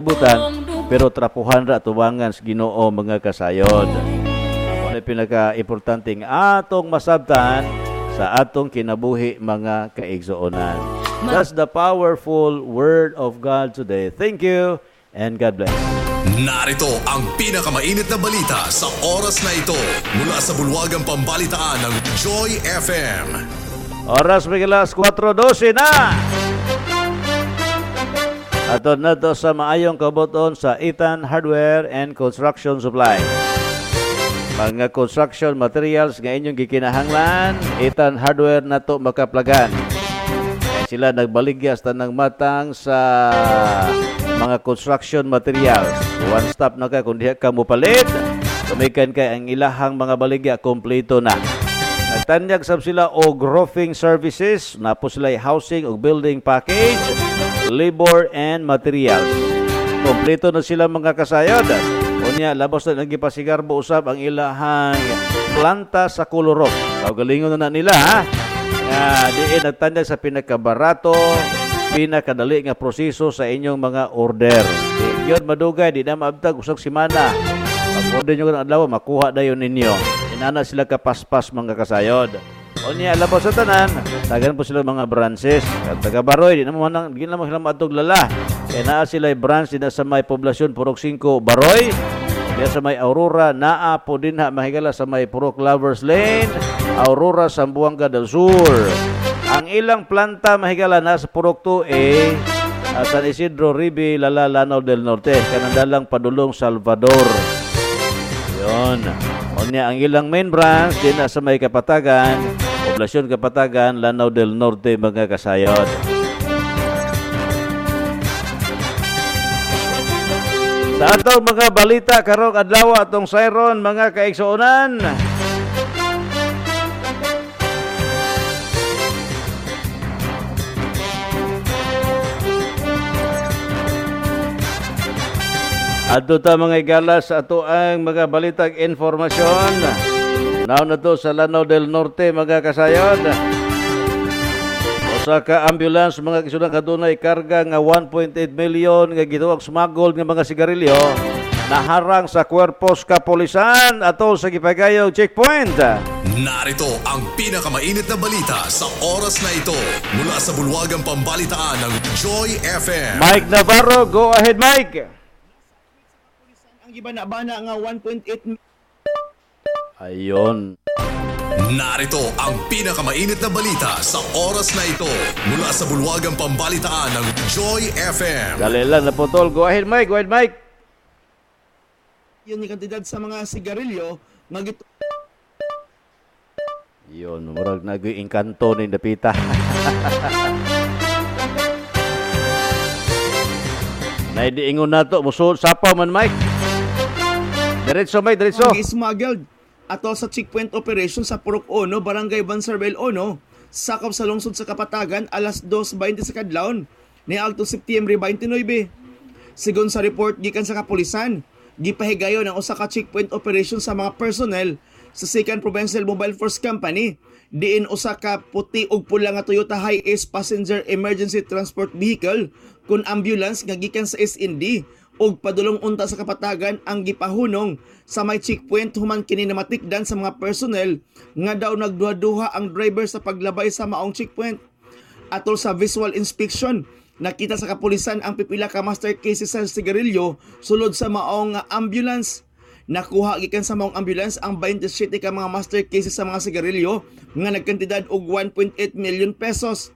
Kalibutan, pero trapuhan ra tubangan sa Ginoo, mga kasayod. Mao na pinaka-importante nga atong masabtan sa atong kinabuhi, mga kaigsuonan. That's the powerful word of God today. Thank you and God bless. Narito ang pinakamainit na balita sa oras na ito mula sa bulwagang pambalitaan ng Joy FM. Oras may alas 4:12 na. Ato na to sa maayong kabuton sa Ethan Hardware and Construction Supply. Mga construction materials nga inyong gikinahanglan, Ethan Hardware na to makaplagan. Kaya sila nagbaligya sa tanang matang sa mga construction materials. One stop na ka kung diha ka mopalit. Tumikan kay ang ilahang mga baligya kompleto na. Nagtanyag sab sila og roofing services, napo sila housing og building package, labor and materials. Kompleto na sila, mga kasayod. Unya, labos na nagipasigarbo usab ang ilahang planta sa Kolorok. Kaugalingon na nila ha. Nga diin nagtanyag sa pinakabarato, pinakadali nga proseso sa inyong mga order. Di yun madugay, di na maabtag usag semana. Pag order nyo ng adlaw, makuha dayon ninyo. Inana sila kapaspas, mga kasayod. Unya, labos sa tanan, tagan po sila mga branches. At taga Baroy, di naman sila maadtog lala. Kaya naa sila branch din sa may poblasyon Purok 5 Baroy. Diya sa may Aurora, naa po din ha, mahigala sa may Purok Lovers Lane, Aurora, Zamboanga del Sur. Ang ilang planta mahigala na sa Purok 2A, San Isidro, Ribi, Lala, Lanao del Norte, kanandalang padulong Salvador. Yun. Unya, ang ilang main branch din na sa may Kapatagan, Poblasyon Kapatagan, Lanao del Norte, mga kasayod. Sa atong mga balita karong adlaw atong sayron, mga kaigsuonan. Adto ta, mga igala, sa ato ang mga balitag informasyon. Now na to sa Lanao del Norte, mga kasayod. Usa ka ambulance, mga kisunan, kadunay karga nga 1.8 million nga gituwag smuggled nga mga sigarilyo naharang sa kuwerpos kapolisan atol sa gipagayog checkpoint. Narito ang pinakamainit na balita sa oras na ito mula sa bulwagang pambalitaan ng Joy FM. Mike Navarro, go ahead, Mike. Ang gibana-bana nga 1.8 Ayon. Narito ang pinakamainit na balita sa oras na ito mula sa bulwagang pambalitaan ng Joy FM. Dali lang naputol. Go ahead, Mike. Go ahead, Mike. Yun yung kantidad sa mga sigarilyo nga Yun, murag nag-inkanto ni dapita. Naidiingon na to. Musul, sapaw man, Mike. Diretso, Mike, diretso. Smuggled ato sa checkpoint operation sa Purok 1, Barangay Bansarbel 1, sakop sa lungsod sa Kapatagan, alas 2:20 sa kadlawon ni Alto Septiembre 29. Sigon sa report gikan sa kapulisan, gipahigayon ang usa ka checkpoint operation sa mga personnel sa 2nd Provincial Mobile Force Company diin usa ka puti ug pula nga Toyota Hiace passenger emergency transport vehicle kun ambulance nga gikan sa SND ug padulong unta sa Kapatagan ang gipahunong sa may checkpoint human kini namatikdan sa mga personnel nga daw nagduha-duha ang driver sa paglabay sa maong checkpoint. Atol sa visual inspection, nakita sa kapulisan ang pipila ka master cases sa sigarilyo sulod sa maong ambulance. Nakuha gikan sa maong ambulance ang 27 ka mga master cases sa mga sigarilyo nga nagkantidad og 1.8 million pesos.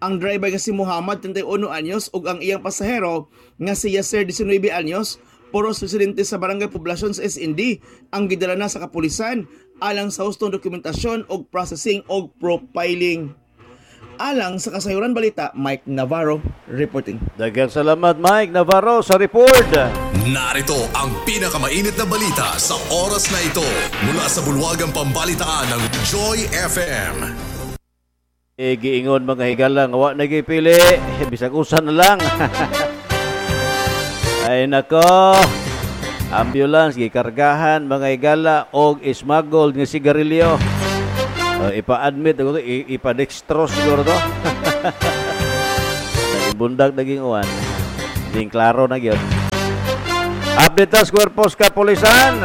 Ang driver nga si Muhammad, 31 anyos, ug ang iyang pasahero nga si Yasser, 19 anyos, puros residente sa Barangay Poblasyon sa SND, ang gidala na sa kapulisan alang sa hustong dokumentasyon ug processing og profiling. Alang sa Kasayuran Balita, Mike Navarro reporting. Daghang salamat, Mike Navarro, sa report. Narito ang pinakamainit na balita sa oras na ito mula sa bulwagang pambalitaan ng Joy FM. E, giingon, mga higala, nga wa nagipili, bisag usa na lang. Ay nako, ambulance gikargahan, mga higala, og smuggled nga sigarilyo. Ipa-admit ako to, ipa-dextrose siguro to. Naging bundag naging uwan. Ding klaro na gyud. Update ta sa kwerpos kapulisan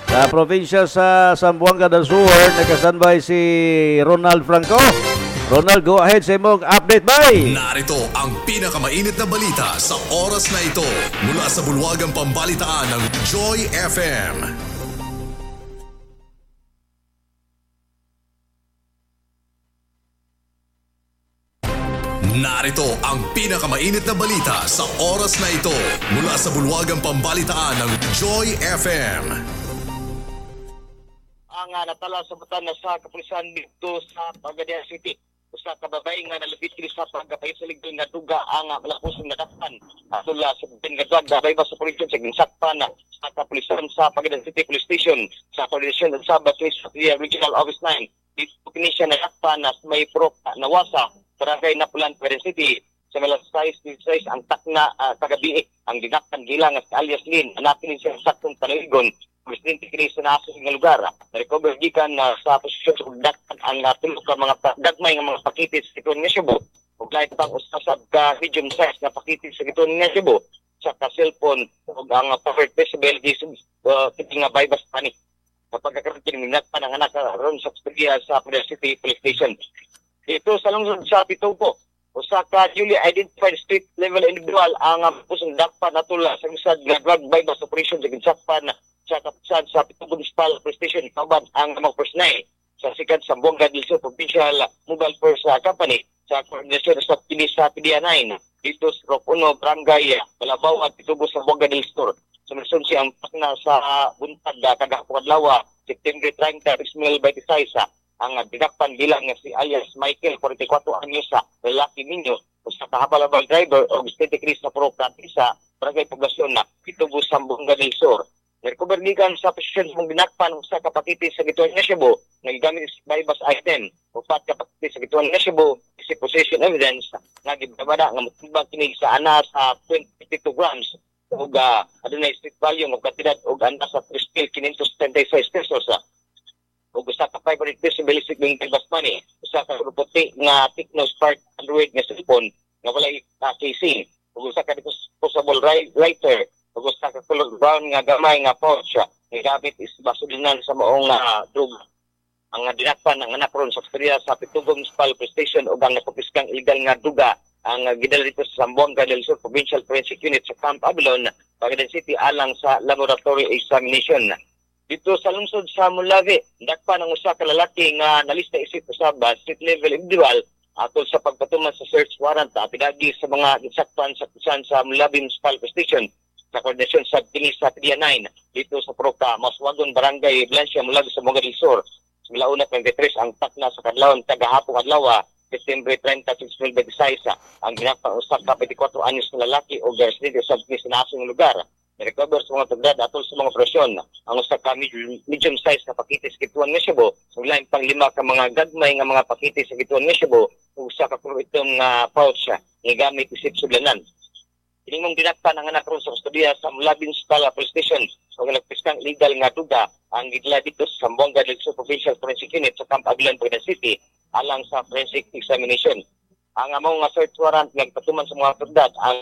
sa probinsya sa Zamboanga del Sur. Nakasanbay si Ronald Franco. Ronald, go ahead sa imong update, bye! Narito ang pinakamainit na balita sa oras na ito mula sa bulwagang pambalitaan ng Joy FM. Narito ang pinakamainit na balita sa oras na ito mula sa bulwagang pambalitaan ng Joy FM. Ang natala sa butan na sa kapulisan dito sa Pagadian City. Usa ka babae nga nalapit kini sa pagkapayot sa ligdo nga duga ang malapusong nadakpan. Atol sa butan nga drug dabay ba sa pulisyon sa ginsakpan sa kapulisan sa Pagadian City Police Station sa koordinasyon sa Batis Regional Office 9. Dito kini siya nadakpan na may prok nawasa Barangay Napulan, Pagadian City. Sa malas 6:16 ang takna kagabi ang dinakpan gilang sa alias Lin. Hanapin siya sa saktong panaligon. Presidente kini sa nasa nga lugar. Na-recover gikan sa posisyon sa dakpan ang tulo ka mga gagmay nga mga pakiti sa gituon nga Cebu. Ug lain pang usa ka medium size nga pakiti sa gituon nga Cebu sa ka cellphone ug ang power decibel kini nga bypass pani. Kapag kakaroon kini minakpan ang anak ron sa kustodiya sa Pagadian City Police Station. Dito sa lungsod sa Pitubo, usa ka newly identified street level individual ang pusong dakpan natula sa usad nga drug bypass operation sa ginsakpan sa kapulisan sa Pitubo Municipal Police Station kauban ang mga personnel sa sikat sa Zamboanga del Sur Provincial Mobile Force Company sa koordinasyon sa kini sa PDEA 9 dito sa Rok 1 Barangay Balabaw at Pitubo sa Zamboanga del Sur. Sumusunod siya ang pakna sa buntag kagahapon adlaw September 30, 2026 ang dinakpan bilang nga si alias Michael, 44 anyos, sa lalaki ninyo usa ka habal-habal driver og 73 na pro sa Barangay Poblasyon na Pitubo sa Zamboanga del Sur. Narecover gikan sa posisyon sa mong dinakpan usa ka pakiti sa gituan nga Cebu nga gigamit sa bypass item. Upat ka pakiti sa gituan nga Cebu is possession evidence nga gibabada nga motibag kini sa ana sa 22 grams ug adunay street value nga kantidad og ana sa 3,576 pesos. Ug usa ka 500 peso basic ng bypass money, usa ka puti nga Tecno Spark Android nga cellphone nga walay casing, ug usa ka disposable lighter, ug usa ka color brown nga gamay nga pouch nga gamit is basulinan sa maong droga. Ang dinakpan ang anak ron sa kustodiya sa Pitubo Municipal Police Station ug ang nakumpiskang illegal nga duga ang gidala dito sa Zamboanga del Sur Provincial Forensic Unit sa Camp Abalon, Pagadian City alang sa laboratory examination. Dito sa lungsod sa Molave, dakpan ang usa ka lalaki nga nalista isip usab street level individual atol sa pagpatuman sa search warrant pidagi sa mga gisakpan sa kusan sa Molave Municipal Police Station sa koordinasyon sa kini sa PDEA 9 dito sa Proca, Maswagon, Barangay Blanca, Molave sa Zamboanga del Sur. Sa Milauna 23 ang takna sa kadlawon kagahapon adlaw September 30, 2026 ang ginakpan usa ka 24 anyos na lalaki o residente sa kini sa nasong lugar. Recover sa mga tugdad atol sa mga operasyon ang usa ka medium size na pakiti sa gituan nga Cebu, ug lain pang lima ka mga gagmay nga mga pakiti sa gituan nga Cebu ug usa ka itom nga pouch nga gamit isip sudlanan. Kini mong dinakpan ang anak ron sa kustodiya sa Molave Municipal Police Station ug nagpiskang illegal nga duga ang gidala dito sa Zamboanga del Sur Provincial Forensic Unit sa Camp Aguilan, Pagadian City alang sa forensic examination. Ang among nga search warrant nga gipatuman sa mga otoridad ang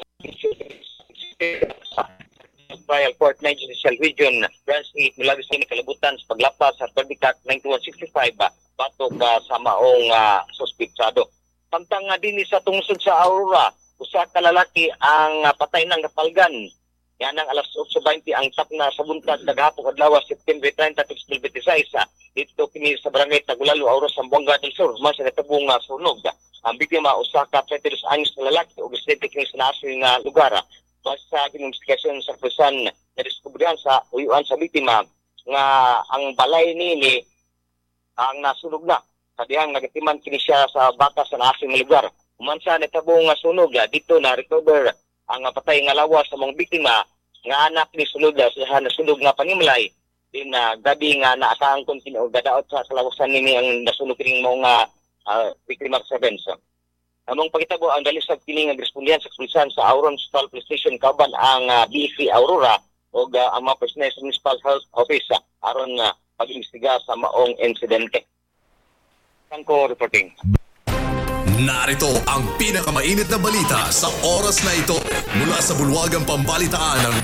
Trial Court 9 Judicial Region Branch 8 Molave City kalibutan sa paglapas sa Republic Act 9165 batok sa maong suspitsado. Samtang dinhi sa tungsod sa Aurora, usa ka lalaki ang patay ng napalgan. Yan ang alas 8:20 ang tapna sa buntag kagahapon adlaw September 30, 2026 dito kini sa Barangay Tagulalo, Aurora, Zamboanga del Sur, man sa natabong sunog. Ang biktima usa ka 32 anyos na lalaki ug residente kini sa nasod nga lugar. Base sa investigasyon sa pulisan na diskubrihan sa uyuan sa biktima nga ang balay niini ang nasunog na. Sa dihang nagatiman kini siya sa baka sa nasod nga lugar. Human sa natabong sunog dito na recover ang patay nga lawas sa mga biktima nga anak ni sulod sa nasunog nga panimalay din gabi nga naakaangkon kini og gadaot sa kalawasan nini ang nasunog kining mga biktima sa bensa. Among pagitabo ang dalisag kini nga respondihan sa kapulisan sa Aurora Municipal Police Station kauban ang BEC Aurora ug ang mga personnel sa Municipal Health Office aron pag-imbestiga sa maong insidente. Franco reporting. Narito ang pinakamainit na balita sa oras na ito mula sa bulwagang pambalitaan ng